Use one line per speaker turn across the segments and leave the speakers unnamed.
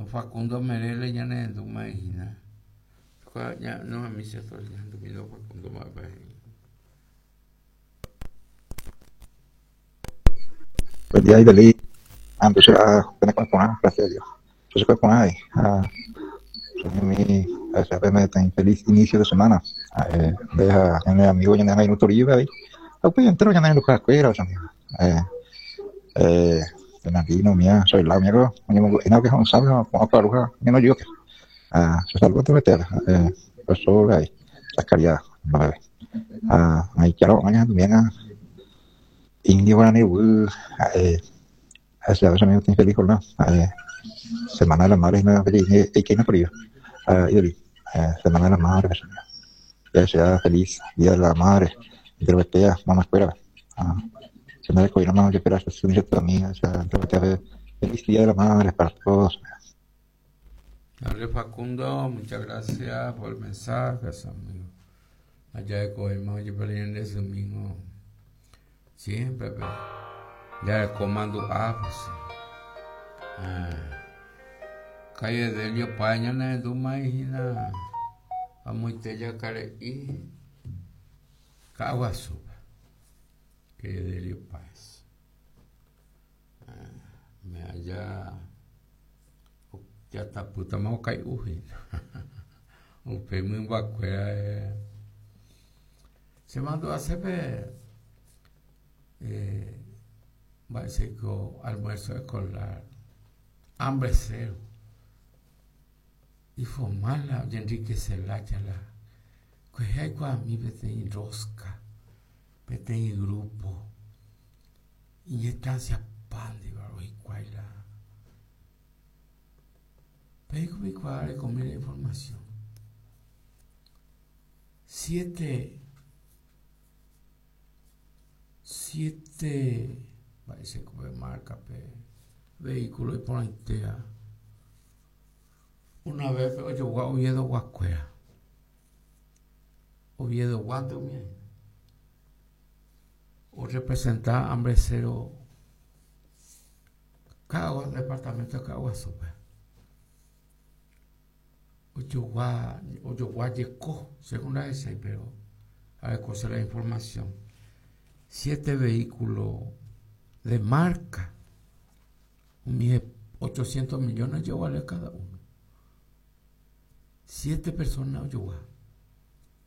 Facundo Merele ñanerendúma hína. Facundo mba'épa he'i.
Buen día, Ibeli. Antes era una porã, gracias a Dios. Yo se porã ahí. Ah, mi, feliz inicio de semana. Eh, deja mi amigo ñane angirũ Toribio avei. Ha upéi entero ñane renduhakuéra amigo. Eh, eh, Fernandino, mía, soy la amigo, oñemongu'éna que ho'ysãme ha ko'ã okaru ha ñanojuke. Ah, se saluda enterovetéva. Eh, profesor ahí, Zacarías, mba'eve. Ha aichárõ añandumína indio guarani ruguy ha'e ha'e che amigo feliz jornada ha'e semana de la madre hína eikéina por ello ha idoli semana de la madre ya sea feliz día de la madre enterovetéa mamakuérape ha che ndarekovéiramo jepe la che sy ni che tuami enterovetéape feliz día de la madre para todos.
Dale Facundo, muchas gracias por el mensaje, amigo. Allá de Coima, oye, pero en ese domingo, siempre, pero ya de comando A, pues. Ah, calle Delio Paña, ne duma hína, amoite jakare'i, Ka'aguasúpe, calle Delio Páez. Me aja jatapýtama okai'u hína. Upe mymbakuéra chemandu'ase pe mba'éichaiko almuerzo escolar hambre cero iformal la oñenriquece lája la kuehe aikuaami peteĩ rosca peteĩ grupo Iñestancia pándiva hikuái la Peiko peikuaa rekomi la información. Siete, siete, mba'éicha ko pe marca pe vehículo iporãitéva. Una vez pe ojogua Oviedo-gua kuéra. Oviedo-guánte umi aĩ. Orrepresenta hambre cero Ka'agua, departamento de Ka'aguasúpe. Ojogua, ojogua jeko, según la ahechái, pero arekose la información. Siete vehículos de marca, umi 800 millones ojeguale cada uno. Siete personas ojogua.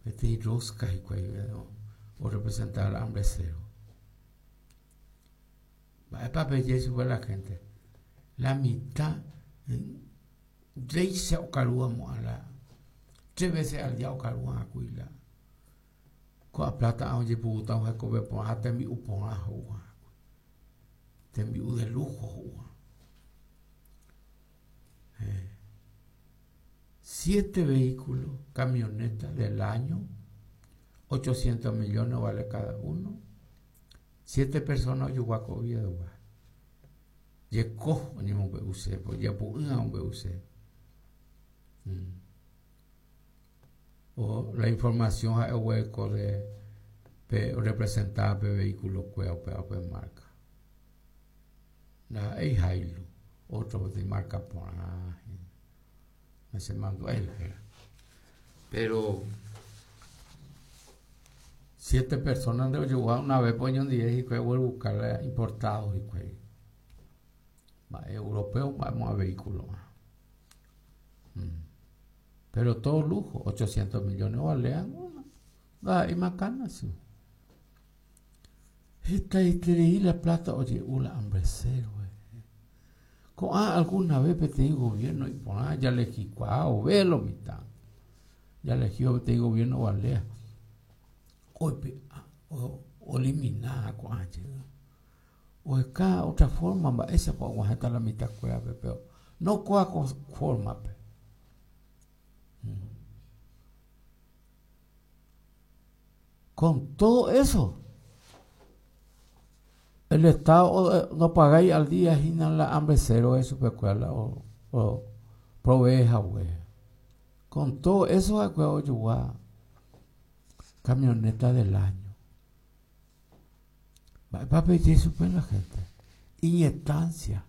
Peteĩ rosca hikuái orrepresenta la hambre cero. Mba'épa peje chupe la gente? La mitad ndéicha okarúva mo'ã la tres veces al día okarúva akui la ko'ã plata ojepurúta hekove porã ha tembi'u porã ho'uva tembi'u de lujo ho'uva. Siete vehículos, camionetas del año, 800 millones vale cada uno. Siete personas ojogua ko Oviedo-gua. Jeko oñemombe'use, ojeapo'ỹva omombe'use. Mm. O la información ha'e oguereko de pe orepresentaba pe vehículo kuéra upéva upe marca. Ndaha'éi Hilux, ótro peteĩ márka porã hína. Nachemandu'ái la héra. Péro siete persóna nde ojogua una ves oñondive hikuái ogueruka la importádo hikuái. Mba'e europeo mba'e mo'ã vehículo. Mm. Pero todo lujo, 800 millones ovalea, ndaha'éi makana si. Hetaiterei la plata oje'u la hambre cero rehe. Ko'ã alguna vez peteĩ gobierno iporã jalehikuaa ove lo mitã. Jalehíva peteĩ gobierno ovalea oipe'a oelimina ko'ã jey. Oheka otra forma mba'éichapa oguahẽta la mitãkuérape pero no kóa ko forma-pe. Con todo eso, el Estado ndopagái al día hína la hambre cero he'i chupekuéra la oprovee hague. Con todo eso ha'ekuéra ojogua camioneta del año. Mba'épa peje chupe la gente? Iñestancia.